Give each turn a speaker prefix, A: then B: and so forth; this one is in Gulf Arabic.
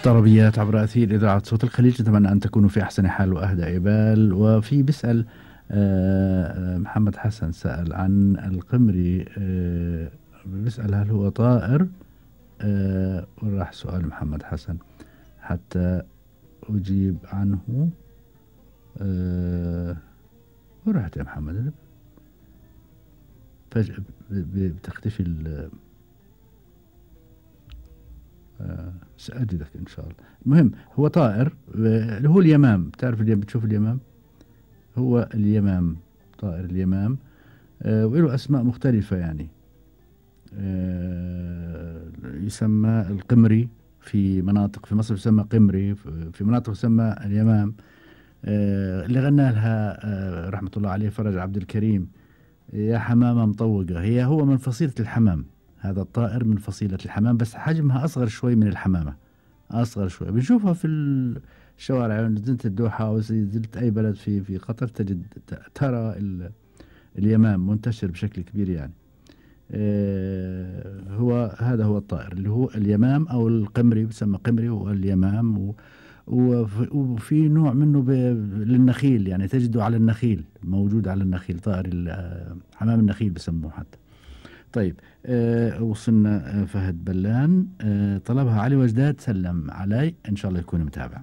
A: طربيات عبر أثير إذاعة صوت الخليج. أتمنى أن تكونوا في أحسن حال وأهدى إبال. وفي بيسأل محمد حسن سأل عن القمري، بيسأل هل هو طائر؟ وراح سؤال محمد حسن حتى أجيب عنه. ورحت يا محمد فجأة بتختفي سأجدك إن شاء الله. المهم هو طائر اللي هو اليمام. تعرف بتشوف اليمام؟ هو اليمام، طائر اليمام. وله أسماء مختلفة يعني. يسمى القمري في مناطق، في مصر يسمى قمري، في مناطق يسمى اليمام. اللي غنى لها رحمة الله عليه فرج عبد الكريم، يا حمامة مطوقة. هو من فصيلة الحمام. هذا الطائر من فصيلة الحمام، بس حجمها أصغر شوي من الحمامة، أصغر شوي. بنشوفها في الشوارع. نزلت الدوحة أو نزلت أي بلد في قطر ترى اليمام منتشر بشكل كبير يعني. هذا هو الطائر اللي هو اليمام أو القمري، بسمى قمري واليمام. وفي نوع منه للنخيل، يعني تجده على النخيل، موجود على النخيل، طائر حمام النخيل بسموه حتى. طيب وصلنا فهد بلان طلبها علي وجداد، سلم علي إن شاء الله يكون متابع.